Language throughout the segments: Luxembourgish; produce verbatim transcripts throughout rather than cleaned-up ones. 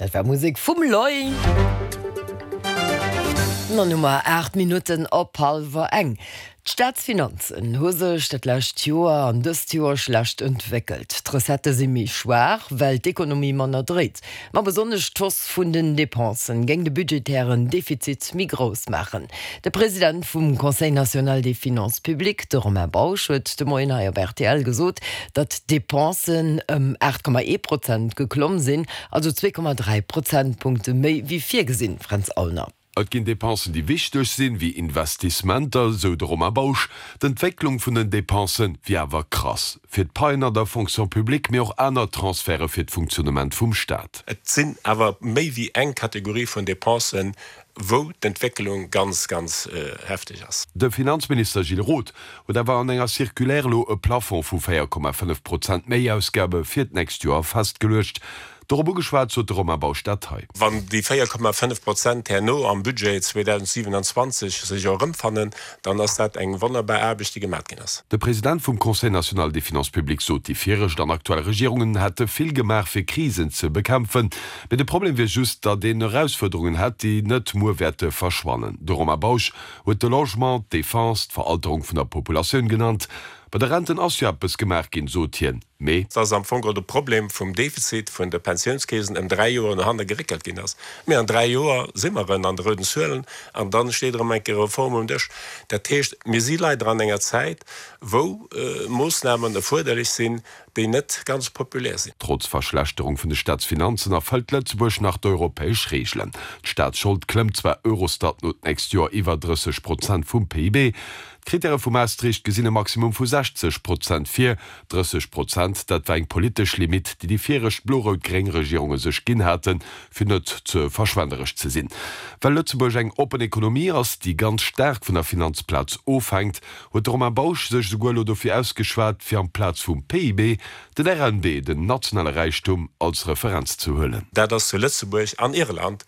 Dat war Musek vum Loi. An Nummer aacht Minutten op hallwer eng. D'Staatsfinanzen hu sech dat lescht Joer an dëst Joer schlecht entwéckelt. D'Recettë si méi schwaach, well d'Ekonomie manner dréit. Ma besonnesch d'Hausse vun den Depensen géing de budgetären Defizit méi grouss maachen. De President vum Conseil national des finances publiques, de Romain Bausch, huet de Moien hei op rtl gesot, datt d'Depensen ëm aacht Komma ee Prozent geklomm sinn, also zwee Komma dräi Prozentpunkte méi wéi virgesinn. Fränz Aulner. Et ginn Depensen, déi wichteg sinn, wéi Investissementer, sou de Romain Bausch. D'Entwécklung vun den Depense wier awer krass. Fir d'Paien an der Fonction publique, mee och aner Transferte fir d'Funktionnement vum Staat. Et sinn awer méi wéi eng Kategorie vun Depensen, wou d'Entwécklung ganz, ganz hefteg ass. De Finanzminister Gilles Roth huet awer an enger Circulaire elo e Plafond vu véier Komma fënnef Prozent Méiausgabe fir d'nächst Joer festgeluecht. Dorop ugeschwat sot de Romain Bausch dat hei. Wann déi véier Komma fënnef Prozent herno am Budget zweedausendsiewenundzwanzeg sech erëmfannen, dann ass dat eng wonnerbar Aarbecht, déi gemat ginn ass. De President vum Conseil national des finances publiques sot, déi viregt an aktuell Regierungen hätte vill gemaach fir Krisen ze bekämpfen, mee de Problem wier just, datt een Erausfuerderungen hätt, déi net muer wäerte verschwannen. De Romain Bausch huet de Logement, d'Defense, d'Veralterung vun der Populatioun genannt. Bei de Renten ass jo eppes gemaach ginn, sot hien, mee. Dass am Fong de Problem vum Defizit vun de Pensiounskeesen ëm dräi Joer no hanne geréckelt ginn ass. Mee an dräi Joer si mer erëm an de rouden Zuelen an da steet erëm eng Kéier Reform um Dësch. Dat heescht, mir si leider an enger Zäit, wou Moossnamen erfuerderlech sinn, déi net ganz populär sinn. Trotz Verschlechterung vun de Staatsfinanzen erfëllt Lëtzebuerg nach d'europäesch Reegelen. D'Staatsschold klëmmt zwar Eurostat no d'nächst Joer iwwer drësseg Prozent vum P I B. D'Krittäre vu Maastricht gesinn e Maximum vu sechzeg Prozent vir. Drësseg Prozent, dat war eng politesch Limitt, déi déi viregt blo-rout-gréng Regierunge sech ginn haten, fir net ze verschwenderesch ze sinn. Well Lëtzebuerg eng oppen Ekonomie ass, déi ganz staark vun der Finanzplaz ofhänkt, huet de Romain Bausch sech esouguer elo dofir ausgeschwat, fir amplaz vum P I B den R N B, den nationale Räichtum, als Referenz ze huelen. Dat ass zu Lëtzebuerg an Irland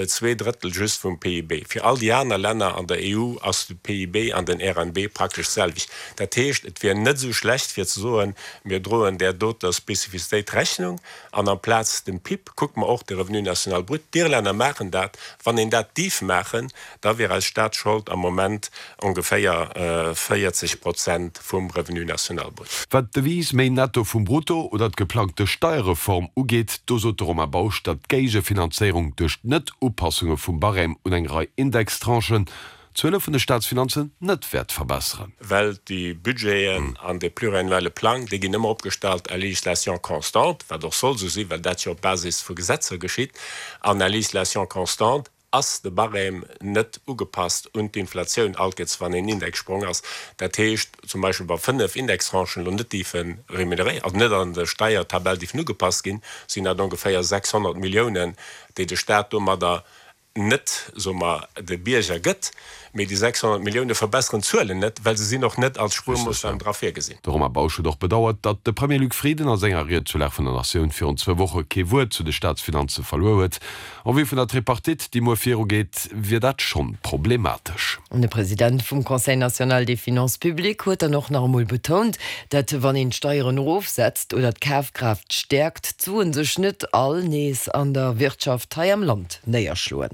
zwee Drëttel just vum P I B. Fir all déi aner Länner an der E U ass de P I B an den R N B praktesch d'selwecht. Dat heescht, et wier net esou schlecht fir ze soen, mir droen där doter Spezifizitéit Rechnung an amplaz dem P I B kucke mer och de Revenu national brut. D'Irlänner maachen dat. Wann een dat dierf maachen, da wier eis Staatsschold am Moment ongeféier véierzeg Prozent vum Revenu national brut. Wat d'Devise méi Netto vum Brutto oder d'geplangte Steierreform ugeet, do sot de Romain Bausch, datt d'Géigefinanzéierung duerch d'Net-Upassunge vum Barème un eng Rei Indextranchen d'Zuele vun de Staatsfinanzen net wäert verbesseren. Well déi Budgeten an de pluriannuelle Plang, déi ginn ëmmer opgestallt à législation constante, wat och soll esou sinn, well dat jo op Basis vu Gesetzer geschitt, an à législation constante ass de Barème net ugepasst un d'Inflatioun all Kéiers wann een Indexsprong ass. Dat heescht zum Beispill, wa fënnef Indextranchen elo net dierfe remuneréiert, also net an der Steiertabell dierfen ugepasst ginn, sinn dat ongeféier sechshonnert Milliounen, déi de Staat domadder net, soe mer, de Bierger gëtt. Mee déi sechshonnert Millioune verbesseren d'Zuelen net, well se sinn och net als Spuermoossnam dra virgesinn. De Romain Bausch huet och bedauert, datt de Premier Luc Frieden a senger Ried zur Lag vun der Natioun virun zwou Woche kee Wuert zu de Staatsfinanze verluer huet. En vue vun der Tripartite, déi muer virugeet, wier dat schonn problematesch. De President vum Conseil national des finances publiques huet dann och nach emol betount, datt wann een d'Steieren erofsetzt oder d'Kafkraaft stäerkt, d'Suen sech net all nees an der Wirtschaft hei am Land néierschloen.